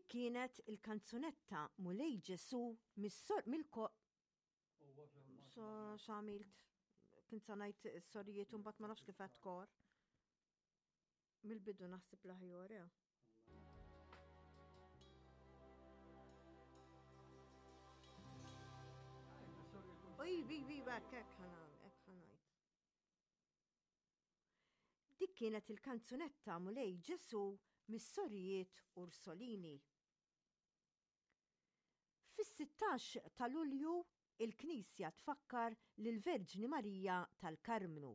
Dik kienet il-kanzunetta Mulej Ġesu mill-ko So x'għamilt? Kint sa ngħid sorijiet u mbagħad ma nafx kif qed kor. Mill-bidu naħseb l-aħjar, eh. Oj, bi, bi, hekk, hekk hekk ħanajt. Dik kienet il-kanzunetta Mulej Ġesu mis-sorijiet Ursolini. Fis-16 ta' Lulju il-Knisja tfakkar lill-Verġni Marija tal-Karmnu.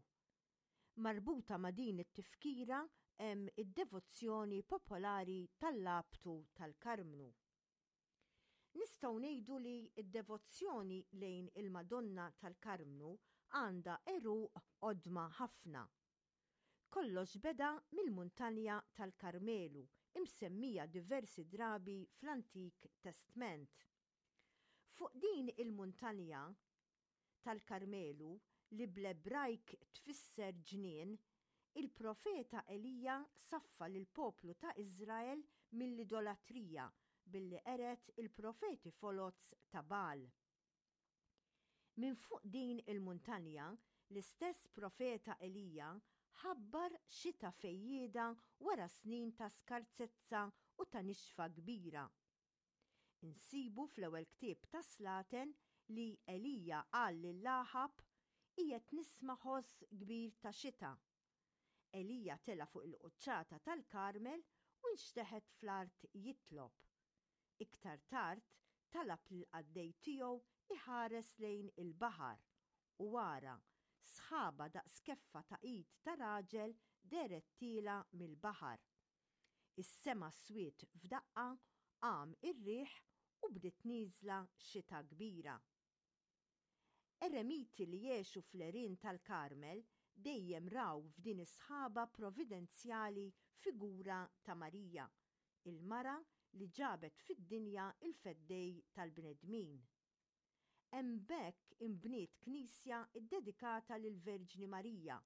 Marbuta ma' din it-tifkira hemm id-devozzjoni popolari tal-Labtu tal-Karmnu. Nistgħu ngħidu li d-devozzjoni lejn il-Madonna tal-Karmnu għandha għeruq qodma ħafna. Kollox beda mill-Muntanja tal-Karmelu imsemmija diversi drabi fl-Antik Testment. Fuq din il-muntanja, tal-Karmelu, li bl-Ebrajk tfisser ġnien, il-profeta Elija saffa lill-poplu ta' Iżrael mill-idolatrija billi qered il-profeti foloz ta' Bagħal. Minn fuq din il-muntanja, l-istess profeta Elija ħabbar xita fejjieda wara snin ta' skarsezza u ta' nixfa kbira. Insibu fl-ewwel ktieb tas-Slaten li Elija qal lil Aħab, Qiegħed nisma' ħoss kbir ta' xita. Elija tela' fuq il-quċċata tal-Karmel u nxteħet fl-art jitlob. Iktar tard talab lill-qaddej tiegħu iħares lejn il-baħar, u ara, sħaba daqs keffa ta' id ta' raġel dehret tielgħa mill-baħar. Is-sema swied f'daqqa, qam ir-riħ u bdiet nieżla xita kbira. Eremiti li għexu fl-għerien tal-Karmel dejjem raw f'din is-sħaba providenzjali figura ta' Marija, il-mara li ġabet fid-dinja l-Feddej tal-bnedmin. Hemm b'hekk inbniet knisja ddedikata lill-Verġni Marija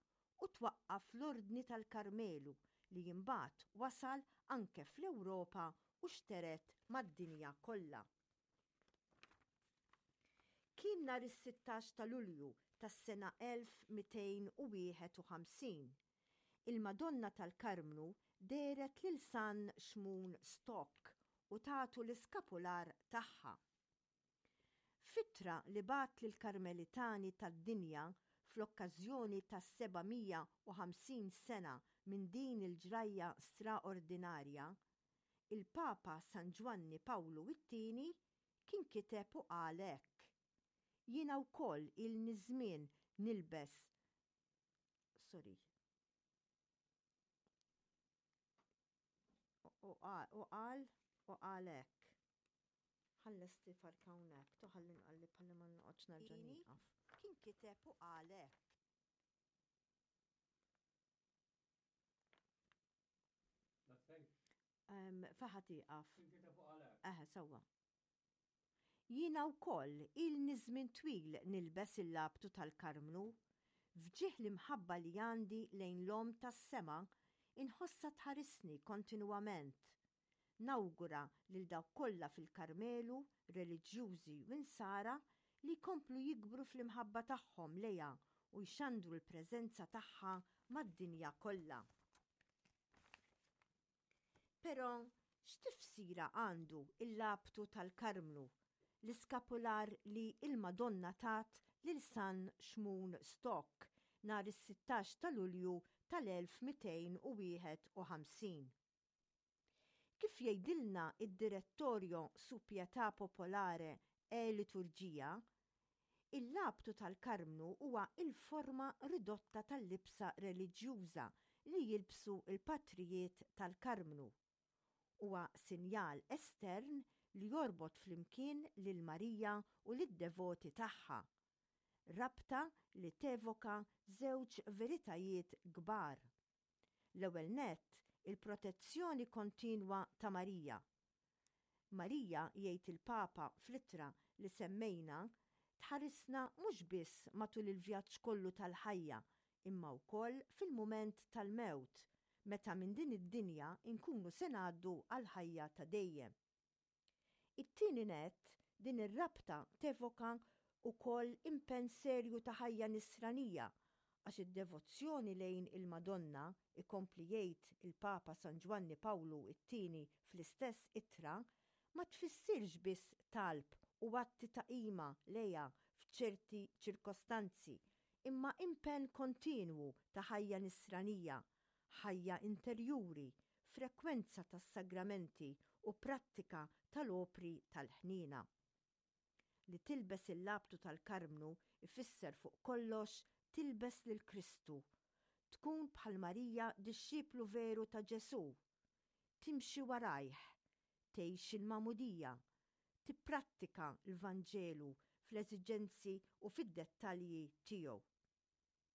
u twaqqaf l-Ordni tal-Karmelu li imbagħad wasal anke fl-Ewropa u xtered mad-dinja kollha. Kien nhar is-sittax ta' Lulju tas-sena 1251. Il-Madonna tal-Karmnu dehret lil San Xmun Stock u tatu l-iskapular tagħha. F'ittra li bagħat lill-Karmelitani tad-dinja fl-okkażjoni tas-750 sena minn din il-ġrajja straordinarja, il-Papa San Ġwanni Pawlu t-Tieni kien kiteb u qal hekk, Jiena wkoll ilni żmien nilbes sorry. U qal u qal hekk. Ħallesti farka hawnhekk, toħalli nqalli bħalli ma noqgħodx nerġa' nieqaf. Kien kiteb u qal hekk. Faħa tieqaf. Kien kiteb u qal hekk. Eħe, sewwa. Jiena wkoll ilni żmien twil nilbes il-labtu tal-Karmnu. F'ġieħ l-imħabba li għandi lejn l-Omm tas-Sema, inħossha tħarisni kontinwament. Nawgura lil dawk kollha fil-Karmelu, reliġjużi u Insara, li jkomplu jikbru fl-imħabba tagħhom lejha u jxandru l-preżenza tagħha mad-dinja kollha. Però x'tifsira għandu l-labtu tal-Karmnu, l-iskapular li l-Madonna tat lil San Xmun Stock nhar is-sittax ta' Lulju tal-1251? Kif jgħidilna d-Direttorio su Pietà Popolare e Liturgia, Il-labtu tal-Karmnu huwa l-forma ridotta tal-libsa reliġjuża li jilbsu l-patrijiet tal-Karmnu. Huwa sinjal estern li jorbot flimkien lil Marija u lid-devoti tagħha. Rabta li tevoka żewġ veritajiet kbar. L-ewwel nett, il-protezzjoni kontinwa ta' Marija. Marija, jgħid il-Papa fl-ittra li semmejna, tħarisna mhux biss matul il-vjaġġ kollu tal-ħajja imma wkoll fil-mument tal-mewt, meta minn din id-dinja nkunu se ngħaddu għall-ħajja ta' dejjem. It-tieni nett, din ir-rabta tevoka wkoll impenn serju ta' ħajja nisranija, għax id-devozzjoni lejn il-Madonna, ikompli jgħid il-Papa San Ġwanni Pawlu t-Tieni fl-istess ittra, ma tfissirx biss talb u atti ta' qima lejha f'ċerti ċirkostanzi, imma impenn kontinwu ta' ħajja nisranija, ħajja interjuri, frekwenza tas-sagramenti u prattika tal-opri tal-ħniena. Li tilbes il-labtu tal-Karmnu ifisser fuq kollox tilbes lil Kristu, tkun bħal Marija dixxiplu veru ta' Ġesù, timxi warajh, tgħix il-magħmudija, tipprattika l-Vanġelu fl-eżiġenzi u fid-dettalji tiegħu.